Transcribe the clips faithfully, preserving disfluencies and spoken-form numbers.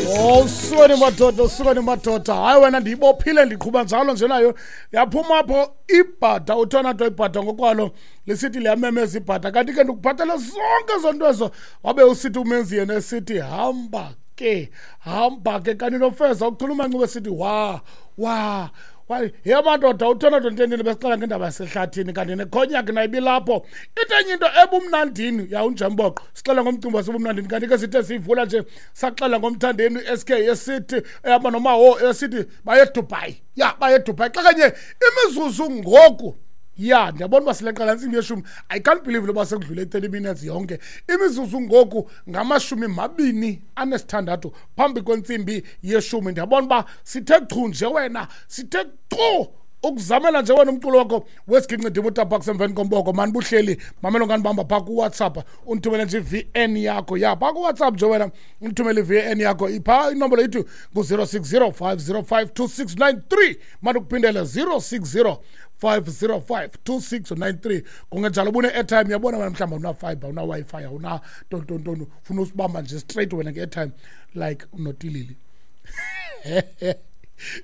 Oh, sukani madoda, sukani madoda. Hayi wena, ndiyibophile, ndiqhuba njalo nje nayo. Yaphuma apho ibhada, uTornado ibhada ngokwalo lisithi liyamemeza ibhada. Kanti ke ndikuphathele zonke ezo nto ezo. Wabe usithi umenzi yena esithi hamba ke, hamba ke. Kanti nofeza ukhuluma ncube sithi wa wa wa. Ye madoda, uTornado ntendile besixela ngendaba yasehlathini, kanti nekhonyaki nayo ibilapho. Into enye into ebumnandini yawunjemboqo, sixela ngomcimbi wasebumnandini. Kanti ke sithe siyivula nje saxela ngomthandeni u-S K esithi ehamba nomawo esithi baye Dubai. Ya, baye Dubai. Xa kanye imizuzu ngoku, ya, ndiyabona uba sileqala intsimbi yeshumi. I can't believe loba sekudlule thirty minutes yonke. Imizuzu ngoku ngamashumi mabini anesithandathu phambi kwentsimbi yeshumi. Ndiyabona uba sithe chu nje wena, sithe chu ukuzamela nje wena umculo wakho wesiginci utabak emveni komboko. Mani buhleli mamelo nganibamba phaa kuWhatsApp, undithumele nje i-V N yakho. Ya, phaa kuWhatsApp nje wena undithumele i-V N yakho. Iphaa inombolo ithi ngu-zero six zero five zero five two six nine three. Mani ukuphindele zero six zero five zero five two six nine three. Kungenjalo ubune-airtime, uyabona wena mhlawumbi awuna-fibre, awuna-Wi-Fi, awuna tontontono, ufuna usibamba nje straight wena nge-airtime like unotilili.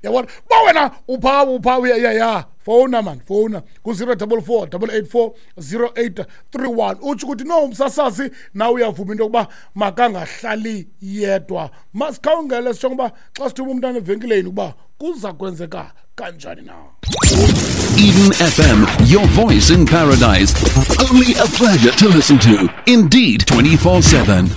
Yabona ba wena upha upha ya ya ya fowuna man, fowuna ku zero double four double eight four zero eight three one. Utsho ukuthi no umsasazi nawe uyavuma into yokuba makangahlali yedwa. Masikhawungele sitsho ngoba xa sithuma umntana evenkileni ukuba kuza kwenzeka kanjani na. Eden F M, your voice in paradise. Only a pleasure to listen to. Indeed, twenty-four seven.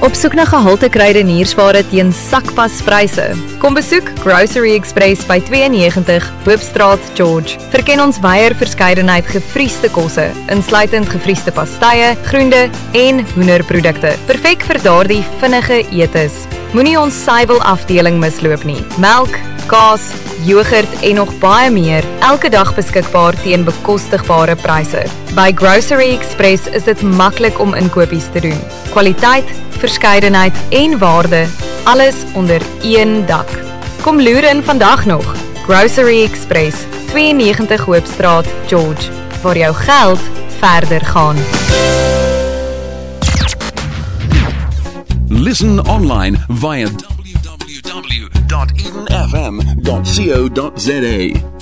Op soek na gehalte kruideniersware teen sakpaspryse. Kom besoek Grocery Express by tweeënnegentig Hoopstraat, George. Verken ons wyeer verskeidenheid gevriesde kosse, insluitend gevriesde pastye, groente en hoenderprodukte. Perfek vir daardie vinnige etes. Moenie ons suiwelafdeling misloop nie. Melk, kaas, yoghurt en nog baie meer, elke dag beskikbaar teen bekostigbare pryse. By Grocery Express is dit maklik om inkopies te doen. Kwaliteit, verskeidenheid en waarde, alles onder een dak. Kom loer in vandag nog. Grocery Express, tweeënnegentig Hoopstraat, George, waar jou geld verder gaan. Listen online via w w w dot eden f m dot co dot z a.